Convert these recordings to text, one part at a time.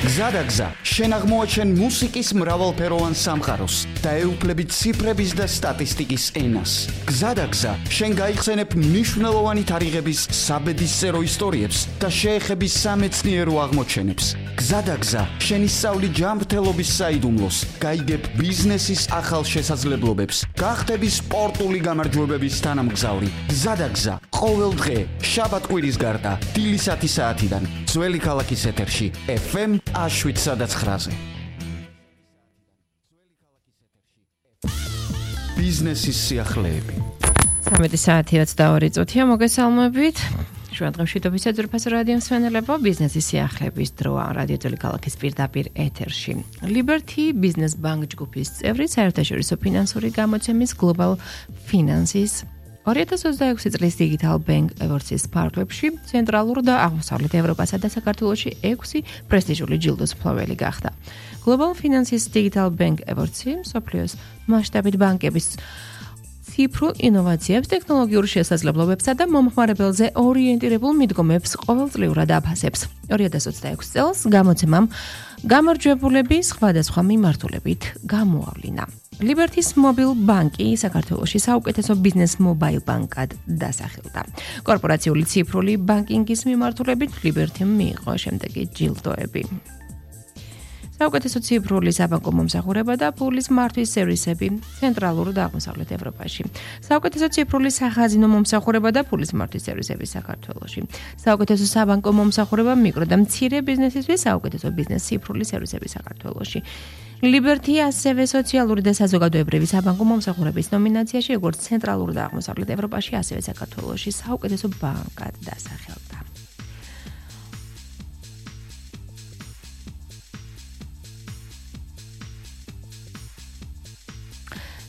გზადაგზა, შენ აღმოაჩენ მუსიკის მრავალფეროვან სამყაროს და ეუფლებით ციფრების და სტატისტიკის ენას. გზადაგზა, შენ გაიხსენებ მნიშვნელოვანი თარიღების საბედისწერო ისტორიებს და შეეხები სამეცნიერო აღმოჩენებს. გზადაგზა, შენ ისწავლი ჯანმრთელობის საიდუმლოს, გაიგებ ბიზნესის ახალ შესაძლებლობებს, გახდები სპორტული გამარჯვებების თანამგზავრი. გზადაგზა, ყოველ დღე, შაბათ-კვირის გარდა, დილის 10 საათიდან, ძველი ქალაქის ეთერში, FM 7-9-ზე. ბიზნესის სიახლეები. 13 საათი 22 წუთია, მოგესალმებით. ჩვენ დღეში თბილისის რადიო მსმენელებო, ბიზნესის სიახლეების დროა რადიო ქალაქის პირდაპირ ეთერში. Liberty Business Bank ჯგუფის წევრი, საერთაშორისო ფინანსური გამოცემის Global Finances 2026 წლის Digital Bank Awards-ის ფარგლებში ცენტრალურ და აღმოსავლეთ ევროპასა და საქართველოში 6 პრესტიჟული ჯილდოს მფლობელი გახდა. Global Finances Digital Bank Awards-ი მსოფლიოს მასშტაბით ბანკების ციფრულ ინოვაციებს, ტექნოლოგიურ შესაძლებლობებსა და მომხმარებელზე ორიენტირებულ მიდგომებს ყოველწლიურად აფასებს. 2026 წელს გამოცემამ გამარჯვებულები სხვადასხვა მიმართულებით გამოავლინა. Liberty's Mobile Bank-ი საქართველოში საუკეთესო ბიზნეს მობაილ ბანკად დასახელდა. კორპორაციული ციფრული ბანკინგის მიმართულებით Liberty-მ მიიღო შემდეგი ჯილდოები. საუკეთესო ციფრული საბანკო მომსახურება და ფულის მართვის სერვისები ცენტრალურ და აღმოსავლეთ ევროპაში. საუკეთესო ციფრული სახაზინო მომსახურება და ფულის მართვის სერვისები საქართველოში. საუკეთესო საბანკო მომსახურება მიკრო და მცირე ბიზნესისთვის, საუკეთესო ბიზნეს ციფრული სერვისები საქართველოში. Liberty ასევე სოციალური და საზოგადოებრივი საბანკო მომსახურების ნომინაციაში, როგორც ცენტრალურ და აღმოსავლეთ ევროპაში, ასევე საქართველოში საუკეთესო ბანკად დასახელდა.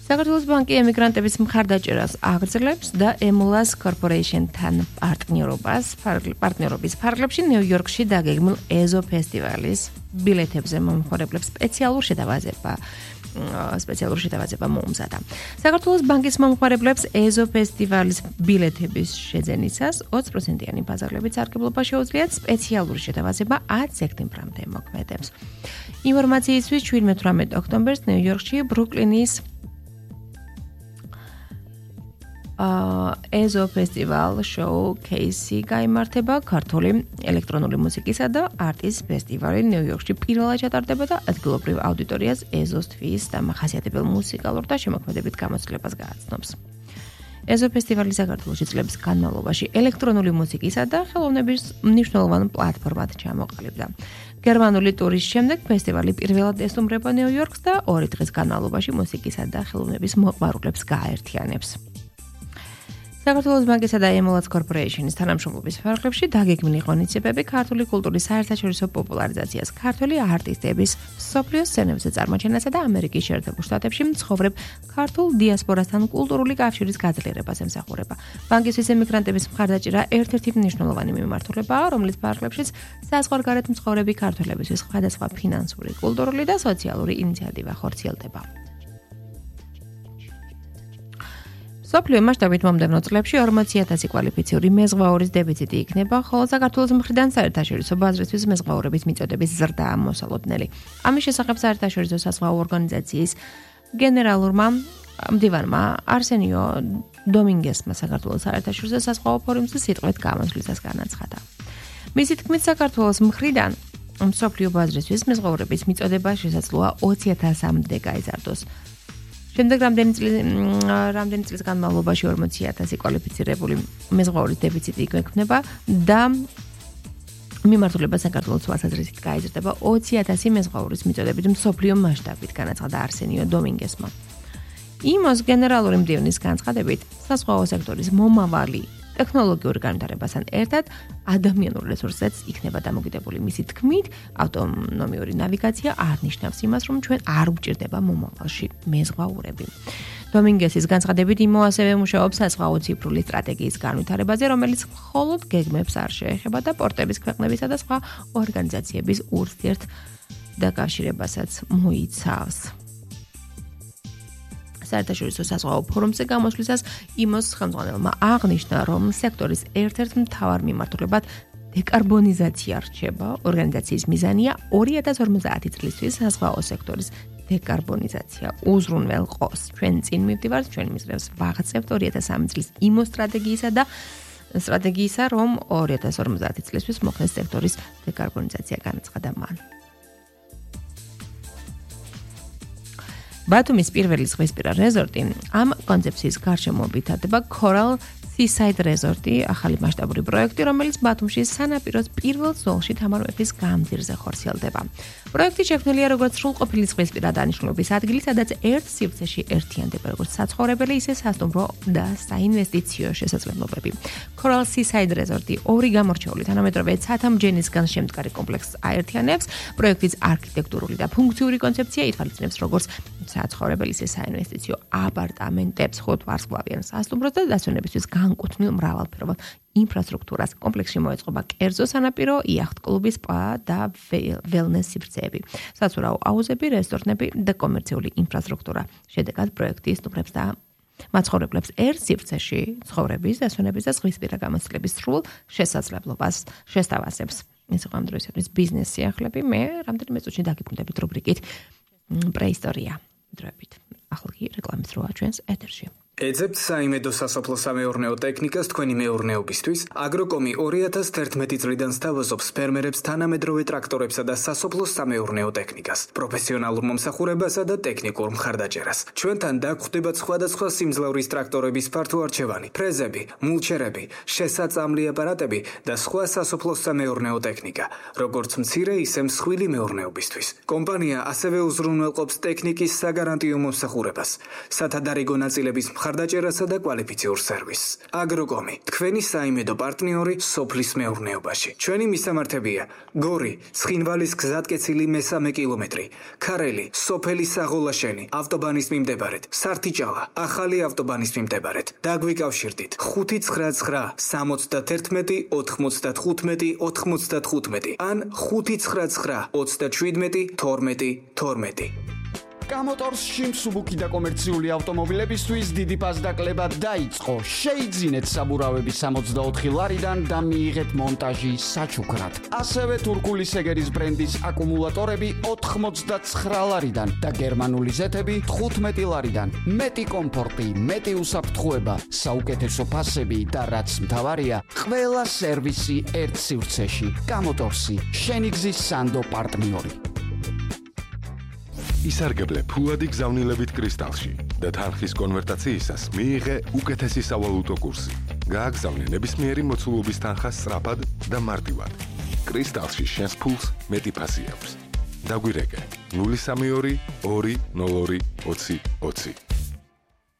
საქართველოს ბანკი ემიგრანტების მხარდაჭერას აგრძელებს და Emulas Corporation-თან პარტნიორობის ფარგლებში ნიუ-იორკში დაგეგმილ EZO ფესტივალის ბილეთებზე მომხმარებლებს სპეციალურ შეტევაზე მოუმზადა. საქართველოს ბანკის მომხმარებლებს EZO ფესტივალის ბილეთების შეძენისას 20%-იანი ბაზარებით სარგებლობა შეუძლიათ სპეციალური შეტევაზე 10 სექტემბრამდე მოქმედებს. ინფორმაციისთვის 17 ოქტომბერს ნიუ-იორკში ბრუკლინის EZO ფესტივალ შოუ-კეისი გაიმართება. ქართული ელექტრონული მუსიკისა და არტის ფესტივალი ნიუ-იორკში პირველად ჩატარდება და ადგილობრივ აუდიტორიას EZO-თვის დამახასიათებელ მუსიკალურ და შემოქმედებით გამოცდილებას გააცნობს. EZO ფესტივალი საქართველოში წლების განმავლობაში ელექტრონული მუსიკისა და ხელოვნების მნიშვნელოვან პლატფორმად ჩამოყალიბდა. გერმანული ტურის შემდეგ ფესტივალი პირველად ესტუმრება ნიუ-იორკს და 2 დღის განმავლობაში მუსიკისა და ხელოვნების მოყვარულებს გააერთიანებს. საქართველოს ბანკისა და Emulas Corporation-ის თანამშრომლობის ფარგლებში დაგეგმილი ღონისძიებები ქართული კულტურის საერთაშორისო პოპულარიზაციას, ქართველი არტისტების მსოფლიოს სცენებზე წარმოჩენასა და ამერიკის შეერთებულ შტატებში მცხოვრებ ქართულ დიასპორასთან კულტურული კავშირის გაძლიერებას ემსახურება. ბანკისთვის ემიგრანტების მხარდაჭერა ერთ-ერთი მნიშვნელოვანი მიმართულებაა, რომლის ფარგლებშიც საზღვარგარეთ მცხოვრები ქართველებისთვის სხვადასხვა ფინანსური, კულტურული და სოციალური ინიციატივა ხორციელდება. სოფლიო მასშტაბით მომდევნო წლებში 40,000 კვალიფიციური მეზღვაურის დეფიციტი იქნება, ხოლო საქართველოს მხრიდან საერთაშორისო ბაზრისთვის მეზღვაურების მიწოდების ზრდაა მოსალოდნელი. ამის შესახებ საერთაშორისო საზღვაო ორგანიზაციის გენერალურმა მდივანმა არსენიო დომინგესმა საქართველოს საერთაშორისო საზღვაო ფორუმზე სიტყვით გამოსვლისას განაცხადა. მისი თქმით, საქართველოს მხრიდან მსოფლიო ბაზრისთვის მეზღვაურების მიწოდება შესაძლოა 20,000-მდე გაიზარდოს. შემდეგ რამდენი წლის განმავლობაში 40,000 კვალიფიცირებული მეზღვაურის დეფიციტი იქმნება და მიმართულება საქართველოს თვალსაზრისით გაიზრდება 20,000 მეზღვაურის მიწოდებით მსოფლიო მასშტაბით, განაცხადა არსენიო დომინგესმა. იმოს გენერალური მდივნის განცხადებით, საზღვაო სექტორის მომავალი ტექნოლოგიურ განვითარებასთან ერთად ადამიანურ რესურსზეც იქნება დამოკიდებული. მისი თქმით, ავტონომიური ნავიგაცია არ ნიშნავს იმას, რომ ჩვენ არ გვჭირდება მომავალში მეზღვაურები. დომინგესის განცხადებით, იმო ასევე მუშაობს საზღვაო ციფრული სტრატეგიის განვითარებაზე, რომელიც მხოლოდ გეგმებს არ შეეხება და პორტების ქვეყნებისა და სხვა ორგანიზაციების ურთიერთ დაკავშირებასაც მოიცავს. საერთაშორისო საზღვაო ფორუმზე გამოსვლისას იმოს ხელმძღვანელმა აღნიშნა, რომ სექტორის ერთ-ერთ მთავარ მიმართულებად დეკარბონიზაცია რჩება. ორგანიზაციის მიზანია 2050 წლისთვის საზღვაო სექტორის დეკარბონიზაცია უზრუნველყოს. ჩვენ წინ მივდივართ, ჩვენ მიზნებს ვაღწევთ 2003 წლის იმო სტრატეგიისა, რომ 2050 წლისთვის მოხდეს სექტორის დეკარბონიზაცია, განაცხადა მან. ბათუმის პირველი ზღვისპირა რეზორტი ამ კონცეფციის გარშემო ვითარდება Coral Seaside რეზორტი, ახალი მასშტაბური პროექტი, რომელიც ბათუმში სანაპიროს პირველ ზოლში თამარ მეფის გამზირზე ხორციელდება. პროექტი შექმნილია როგორც სრულყოფილი ზღვისპირა დანიშნულების ადგილი, სადაც ერთ სივრცეში ერთიანდება როგორც საცხოვრებელი, ისე სასტუმრო და საინვესტიციო შესაძლებლობები. Coral Seaside რეზორტი ორი გამორჩეული თანამედროვე ცათამბჯენისგან შემდგარი კომპლექსს აერთიანებს. პროექტის არქიტექტურული და ფუნქციური კონცეფცია ითვალისწინებს როგორც საცხოვრებელი, ისე საინვესტიციო აპარტამენტებს, 5 ვარსკვლავიან სასტუმროს და დასვენებისთვის განკუთვნილ მრავალფეროვან ინფრასტრუქტურას. კომპლექსში მოეწყობა კერძო სანაპირო, იახტ-კლუბი, სპა და ველნეს სივრცეები, საცურაო აუზები, რესტორნები და კომერციული ინფრასტრუქტურა. შედეგად პროექტი სტუმრებს და მაცხოვრებლებს ერთ სივრცეში ცხოვრების, დასვენების და ზღვისპირა გამოცდილების სრულ შესაძლებლობას შესთავაზებს. ეს იყო ამ დროისათვის ბიზნეს სიახლეები. მე რამდენიმე წუთში დაგიბრუნდებით რუბრიკით პრეისტორია. დროებით. ახლა კი რეკლამის დროა ჩვენს ეთერში. ეძებთ საიმედო სასოფლო-სამეურნეო ტექნიკას თქვენი მეურნეობისთვის. აგროკომი 2011 წლიდან სთავაზობს ფერმერებს თანამედროვე ტრაქტორებსა და სასოფლო-სამეურნეო ტექნიკას, პროფესიონალურ მომსახურებასა და ტექნიკურ მხარდაჭერას. ჩვენთან დაგხვდებათ სხვადასხვა სიმძლავრის ტრაქტორების ფართო არჩევანი, ფრეზები, მულჩერები, შესაწამლი აპარატები და სხვა სასოფლო-სამეურნეო ტექნიკა, როგორც მცირე, ისე მსხვილი მეურნეობისთვის. კომპანია ასევე უზრუნველყოფს ტექნიკის საგარანტიო მომსახურებას, სათადარიგო ნაწილების მხარდაჭერასა და კვალიფიციურ სერვისს. აგროკომი, თქვენი საიმედო პარტნიორი სოფლის მეურნეობაში. ჩვენი მისამართებია: გორი, ცხინვალის გზატკეცილი მე-3 კილომეტრი, ქარელი, სოფელი საღოლაშენი, ავტობანის მიმდებარედ, სართიჭალა, ახალი ავტობანის მიმდებარედ. დაგვიკავშირდით 599 71 95 95 ან 599 37 12 12. გამოტორსში მსუბუქი და კომერციული ავტომობილებისთვის დიდი პასდაკლება დაიწყო. შეიძინეთ საბურავები 64 ლარიდან და მიიღეთ მონტაჟი საჩუქრად. ასევე თურქული სეგერის ბრენდის აკუმულატორები 89 ლარიდან და გერმანული ზეთები 15 ლარიდან. მეტი კომფორტი, მეტი უსაფრთხოება, საუკეთესო ფასები და რაც მთავარია, ყველა სერვისი ერთ სივრცეში. გამოტორსი, შენი გზის სანდო პარტნიორი. ისარგებლე ფულადი გზავნილებით კრისტალში და თანხის კონვერტაციისას მიიღე უკეთესი სავალუტო კურსი. გააგზავნე ნებისმიერი მოცულობის თანხა სწრაფად და მარტივად. კრისტალში შენს ფულს მეტი ფასი აქვს. დაგვირეკე 032 202 20 20.